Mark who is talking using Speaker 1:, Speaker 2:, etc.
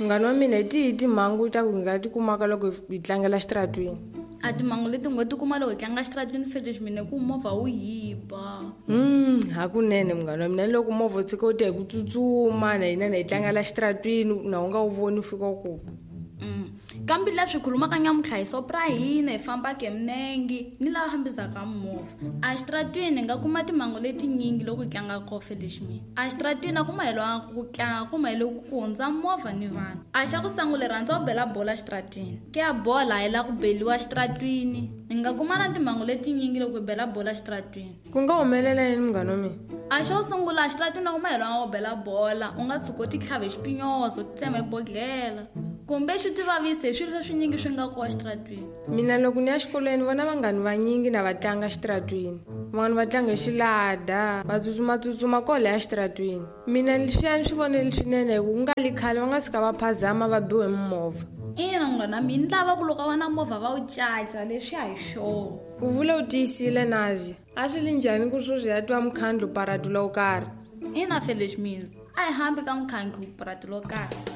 Speaker 1: Munghana wa mina, hi tihi timhangu ta ku hi nga ti kumaka loko hi tlangela xitaratwini?
Speaker 2: A timhangu leti ngo ti kuma loko hi tlanga xitaratwini, Fetish, mina, ku movha wu yiba.
Speaker 1: Hakunene munghana wa mina, loko movha wu tshika wu ta hi ku tsutsuma na hina na hi tlangela xitaratwini, na u nga wu voni, u fika u ku
Speaker 2: Kambe leswi khulumaka nyamuntlha hi soap ra hina hi fambaka hi minenge ni lava fambisaka movha a xitaratwini, hi nga kuma timhangu letinyingi loko hi tlanga kofe lexi mina. A xitaratwini a ku mahelwanga ku tlanga, ku mahele ku hundza movha ni vanhu. A xa ku sangula, rhandza ku bela bola xitaratwini, ke ya bola a yi la ku beliwa xitaratwini. Hi nga kuma na timhangu letinyingi loko hi bela bola xitaratwini.
Speaker 1: Ku nga humelela yini, munghana wa mina?
Speaker 2: A xo sungula, xitaratwini a ku mahelwanga ku bela bola, u nga tshuka u ti tlhava hi xipinyozo, ti tsema hi bodlela, kumbe xi ti vavise hi swilo swa swinyingi swi nga kowa xitaratwini.
Speaker 1: Mina loko ni ya xikolweni, vona vanghani vanyingi na va tlanga xitaratwini. Van'wana va tlanga hi xilada, va tsutsumatsutsuma koho ya xitaratwini. Mina leswiyani swi vonile swinene, hi ku ku nga li khale va nga suka va phazama, va biwe hi mimovha.
Speaker 2: Ina, munghana, mina ni lava ku loko va na movha va wu caca, leswi a hi swona.
Speaker 1: U vula u tiyisile, Nazi. A swi li njhani ku sweswi ya twa mukhandlu paratu lowo karhi?
Speaker 2: Ina, Felix, mina a hi hambi ka mukhandlu purati lo karhi.